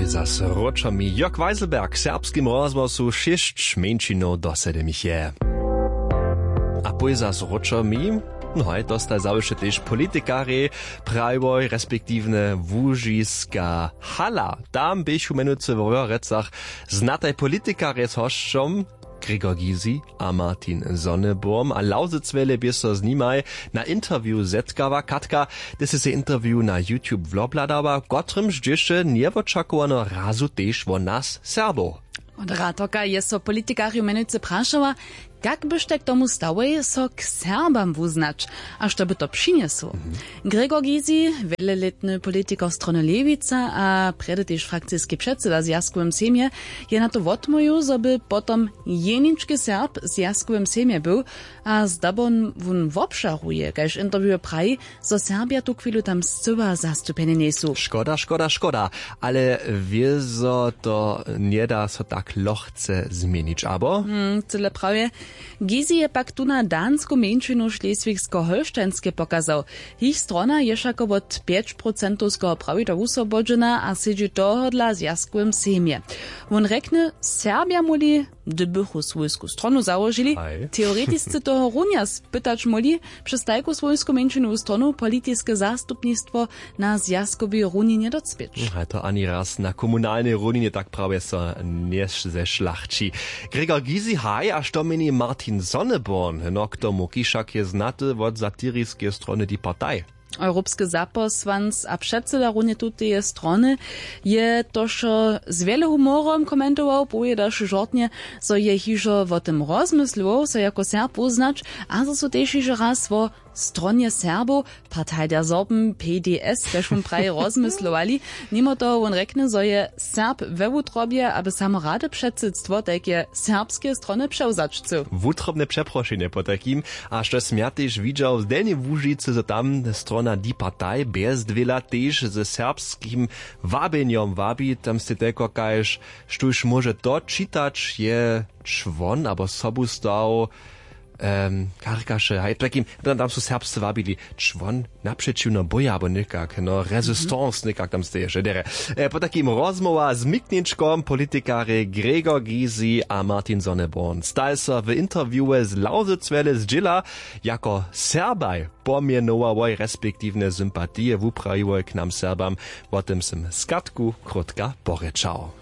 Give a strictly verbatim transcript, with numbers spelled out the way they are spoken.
Zas wróćo mi Jörg Weiselberg w serbskim rozhłosu, šěsć mjeńšinow do sedemich je. A pój zas wróćo mi, no haj, to staj zawěsće tež politikarjej, prajiłoj respektiwnje łužiska hala. Tam běchu mjenujcy w Wojerecach znataj politikarjej z hosćom Gregor Gysi a Martin Sonneborn a Lausitz wjele bě so z nimaj na interview zetkała. Katka, ty sy se interview na YouTube wobhladała, w kotrymž dźěše njewočakowano razu tež wo nas Serbow. Od Ratorka je so politikarjow mjenujcy prašała, kak byštaj k tomu stałej, so k Serbam wuznać, a što by to přinjesło. Gregor Gysi, wjelelětny politikar strony Lewica a prjedy tež frakciski předsyda w Zwjazkowym sejmje, je na to wotmołwił, zo by potom jenički Serb w Zwjazkowym sejmje był, a zdabo wón wobžaruje, kaž interview praji, zo Serbja tuchwilu tam scyła zastupjeni njejsu. Škoda, škoda, škoda. Ale wězo to njeda so tak lochce změnić, abo? Hmm, cyle prawje. Gysi je pak tu na dansku mjeńšinu Šleswigskeho Holštajnske pokazał. Jich strona je wšako wot pjeć procentowskeho prawidła wuswobodźena a sedźi tohodla w Zwjazkowym sejmje. Wón rjekny, Serbja móhli, hdybychu swójsku stronu załožili, teoretisce toho runja spytać móhli, přez tajku swójsku mjeńšinowu stronu politiske zastupnistwo na zwjazkowej runje njedocpěć. Haj, to ani raz na komunalnej runje tak prawje so njezešlachći. Gregor Gysi, haj, a što měni Martin Sonneborn? No, k tomu, kiž wšak je znaty wot satiriskeje strony Die Partei. Europski zapósłanc a předsyda runje tuteje strony je to wšo z wjele humorom komentował, powědaše žortnje, zo je hižo wo tym rozmyslował, so jako Serb wuznać, a zo su tež hižo raz wo stronje Serbow, Partei der Sorben, P D S, kaž wón praji, rozmyslowali. Nimo toho wón rjekny, zo je Serb we wutrobje, aby samo rady předsydstwo tajkeje serbskeje strony přewzać chcył. Wutrobne přeprošenje potajkim. A štož sym ja tež widźał z Delnjej Łužicy, zo tam strona Die Partei bjezdwěla tež ze serbskim wabjenjom wabi. Tam stej telko kaž, štóž móže to čitać, je čłon abo sobu stał, um, karkaše, haj, takim, tam, tam su serbsce wabili, čłon napřećiwno boja abo někak, no, resistance někak tam steješe derje. E, potajkim rozmołwa z mikničkom, politikarjej Gregor Gysi a Martin Sonneborn staj so w interviewe z Lausitz wjele zdźěla. Jako Serbaj pomjenowałoj respektiwnje sympatije wuprajiłoj k nam Serbam. Wo tym sym skatku krótka porěčał.